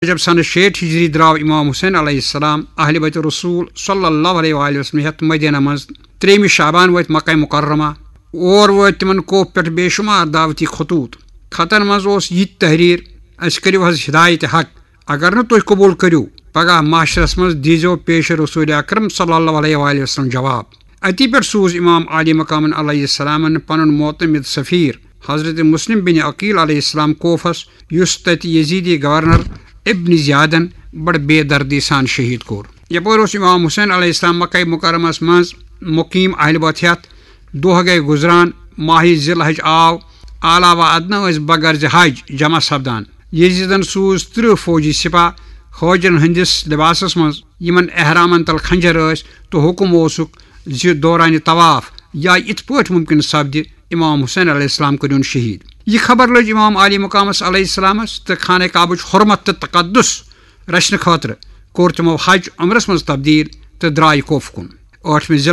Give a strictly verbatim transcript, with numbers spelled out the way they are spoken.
رجب سنہٕ شیٹھ ہجری درٛاو امام حسین علیہ السلام اہل بیت رسول صلی اللہ علیہ وآلہ وسلم ہیتھ مدینہ منٛز۔ ترٛیٚیِمہِ شعبان وٲتۍ مکہ مکرمہ۔ اور وٲتۍ تِمن کوہ پٮ۪ٹھ بے شمار دعوتی خطوط۔ خطن منٛز اوس یہِ تہِ تحریر، "اسہِ کٔرِو حظ ہدایت حق، اگر نہٕ تُہۍ قبول کٔرِو، پگاہ محشرس منٛز دیٖزیو پیش رسول اکرم صلی اللہ علیہ وآلہ وسلم جواب۔" اتی پٮ۪ٹھ سوٗز امام عالی مقامن علیہ السلامن پنُن معتمد سفیر حضرت مسلم بن عقیل علیہ السلام کوفس، یُس تتہِ یزیدی گورنر ابن زیادن بڑٕ بے دردی سان شہید کوٚر۔ یپٲرۍ اوس امام حسین علیہ السلام مکہ مکرمس منٛز مقیم اہل بیت ہیتھ۔ دۄہ گٔے گُزران، ماہ ذی الحج آو، علاوہ ادنہ ٲسۍ بغرض حج جمع سپدان۔ یزیدن سوٗز ترٕٛہ فوجی سپاہ حٲجن ہٕنٛدِس لباسس منٛز، یِمن احرامن تل خنجر ٲسۍ، تہٕ حکم اوسُکھ زِ دوران طواف یا یِتھ پٲٹھۍ ممکن سپدِ، امام حسین علیہ السلام کٔرِن شہید۔ یہِ خبر لٔج امام عالی مقامس علیہ السلامس تہٕ خانہ کعبٕچ حرمت تہٕ تقدس رچھنہٕ خٲطرٕ کوٚر تِمو حج عمرس منٛز تبدیل تہٕ درٛاے کوفہٕ کُن۔ ٲٹھمہِ ذی